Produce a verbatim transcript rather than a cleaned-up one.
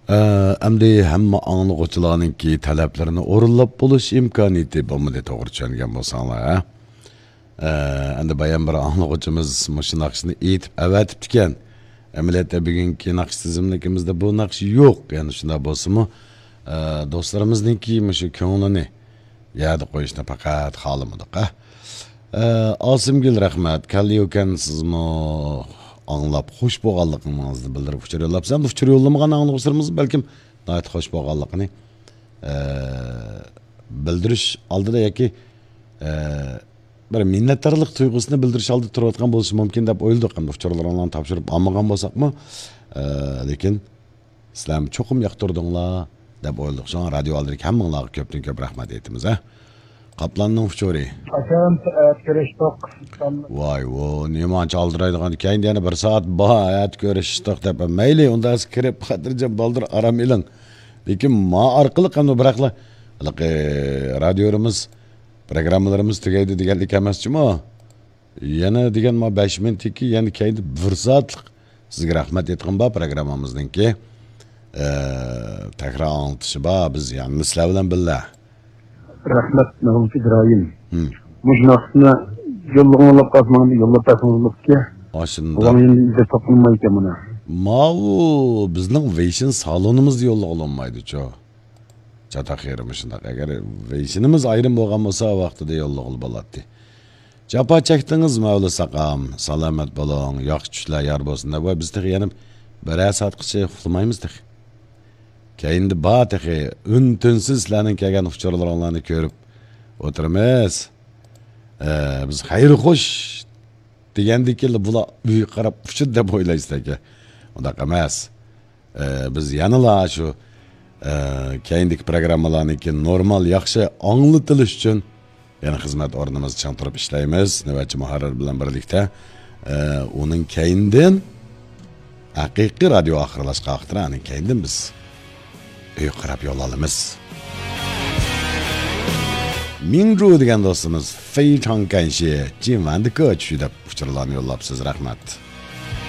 ئە، ئەمدى ھەممە ئاڭلىغۇچىلارنىڭكى تەلەپلىرىنى ئورۇنلاپ بولۇش ئىمكانىيىتى بولمىدى، توغرا چۈشەنگەن بولساڭلار، ھە؟ ئە، ئەمدى بايام بىر ئاڭلىغۇچىمىز مۇشۇ ناخشىنى ئېيتىپ ئەۋەتىپتىكەن. ئەمەلىيەتتە بۈگۈنكى ناخشا تىزىملىكىمىزدە بۇ ناخشا يوق. يەنى شۇنداق بولسىمۇ، ئە، دوستلىرىمىزنىڭكى مۇشۇ كۆڭلىنى يەردە قويۇشنى پەقەت خالىمىدۇق، ھە؟ ئە، ئاسىمگۈل، رەھمەت. كاللىيۇكەن، سىزمۇ ئاڭلاپ خۇش بولغانلىقىڭىزنى بىلدۈرۈپ ئۇچۇر يوللاپسىز. ئەمدى ئۇچۇر يوللىمىغان ئاڭلىغۇچىلىرىمىز بەلكىم ناھايىتى خۇش بولغانلىقىنى، ئە، بىلدۈرۈش ئالدىدا ياكى، ئە، بىر مىننەتدارلىق تۇيغۇسىنى بىلدۈرۈش ئالدىدا تۇرۇۋاتقان بولۇشى مۇمكىن دەپ ئويلىدۇق. ئەمدى ئۇچۇرلىرىڭلارنى تاپشۇرۇپ ئالمىغان بولساقمۇ، ئە، لېكىن سىلەرمۇ چوقۇم ياقتۇردۇڭلار دەپ ئويلىدۇق. شۇڭا رادىيو ئالدىدىكى ھەممىڭلارغا كۆپتىن كۆپ رەھمەت ئېيتىمىز، ھە. قاپلاننىڭ ئۇچۇرى. قاچان سائەت كۆرۈشتۇق؟ ۋاي، ۋو، نېمانچە ئالدىرايدىغان ئىكەن، يەنە بىر سائەت بار، ئەتە كۆرۈشتۇق دەپ. مەيلى، ئۇنداق كىرىپ، خاتىرجەم بالدۇر ئارام ئېلىڭ. لېكىن ما ئارقىلىق ئەمدى بىراقلا، ھېلىقى رادىيورىمىز، پروگراممىلىرىمىز تۈگەيدۇ دېگەنلىك ئەمەس جۇمۇ. يەنە دېگەن ما بەش مىنۇتتىكى، يەنە كەينىدە بىر سائەتلىك سىزگە رەھمەت ئېيتقىنى بار، پروگراممىمىزنىڭكى، ئە، تەكرار ئاڭلىتىشى بار. بىز يەنە سىلەر بىلەن بىللە. رەھمەت، مەغلۇپ ئىبراھىم. ھىم. مۇشۇ ناخشىنى يوللىغىڭلاپ قالسىڭىز، يوللاپ بەرسىڭىز بولۇپتىكەن. ئاشۇنداق. ئۇلارنىڭ يېنىدا ئىزدەپ تاپىلمايدىكەن بۇنى. ماۋۇ بىزنىڭ ۋېيشىن سالونىمىزدا يوللىغىلى بولمايدۇچۇ. چاتاق يېرىمۇ شۇنداق. ئەگەر ۋېيشىنىمىز ئايرىم بولغان بولسا، ۋاقتىدا يوللىغىلى بولاتتى. جاپا چەكتىڭىز، مەۋلا ساقام. سالامەت بولۇڭ. ياخشى چۈشلەر يار بولسۇن دەپ. ۋاي، بىز تېخى يەنە بىرەر سائەتقىچە ئۇخلىمايمىز تېخى. كەينىدە بار تېخى. ئۈن-تىنسىز سىلەرنىڭ كەلگەن ئۇچۇرلىرىڭلارنى كۆرۈپ ئولتۇرىمىز. ئە، بىز خەير خوش دېگەندىكىنلا بۇلار ئۆيگە قاراپ ئۇچىدۇ دەپ ئويلايسىز ئەكە. ئۇنداق ئەمەس. ئە، بىز يەنىلا شۇ، ئە، كەينىدىكى پروگراممىلارنىڭكى نورمال، ياخشى ئاڭلىتىلىش ئۈچۈن يەنە خىزمەت ئورنىمىزدا چىڭ تۇرۇپ ئىشلەيمىز. نۆۋەتچى مۇھەررىر بىلەن بىرلىكتە، ئە، ئۇنىڭ كەينىدىن ھەقىقىي رادىيو ئاخىرلاشقان ۋاقىتتا، ئۇنىڭ كەينىدىن بىز ئۆيگە قاراپ يول ئالىمىز. 明珠 دېگەن دوستىمىز، 非常感谢، 今晚的歌曲 دەپ ئۇچۇرلارنى يوللاپسىز. رەھمەت.